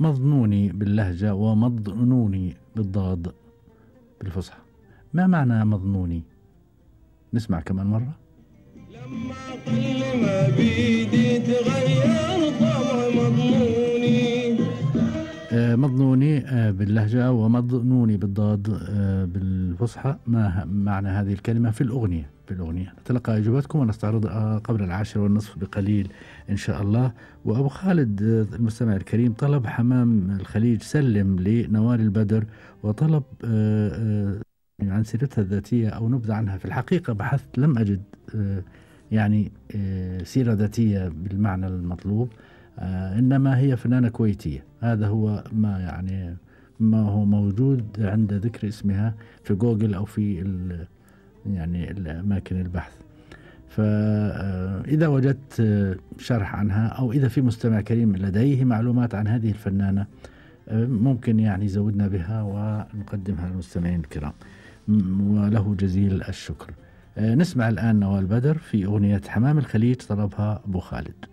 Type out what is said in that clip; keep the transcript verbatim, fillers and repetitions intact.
مظنوني باللهجة ومضنوني بالضاد بالفصحى. ما معنى مظنوني؟ نسمع كمان مرة. لما قل ما بيدي تغير طبع مضنوني. آه مضنوني آه باللهجة ومضنوني بالضاد آه بالفصحى. ما معنى هذه الكلمة في الأغنية؟ في الأغنية نتلقى إجاباتكم ونستعرض آه قبل العاشرة والنصف بقليل إن شاء الله. وأبو خالد آه المستمع الكريم طلب حمام الخليج سلم لنوال البدر، وطلب آه آه عن سيرتها الذاتية أو نبذة عنها. في الحقيقة بحثت لم أجد آه يعني آه سيرة ذاتية بالمعنى المطلوب، آه إنما هي فنانة كويتية. هذا هو ما يعني ما هو موجود عند ذكر اسمها في جوجل أو في يعني الأماكن البحث. فإذا وجدت شرح عنها أو إذا في مستمع كريم لديه معلومات عن هذه الفنانة ممكن يعني يزودنا بها ونقدمها للمستمعين الكرام، وله جزيل الشكر. نسمع الآن نوال بدر في أغنية حمام الخليج طلبها أبو خالد.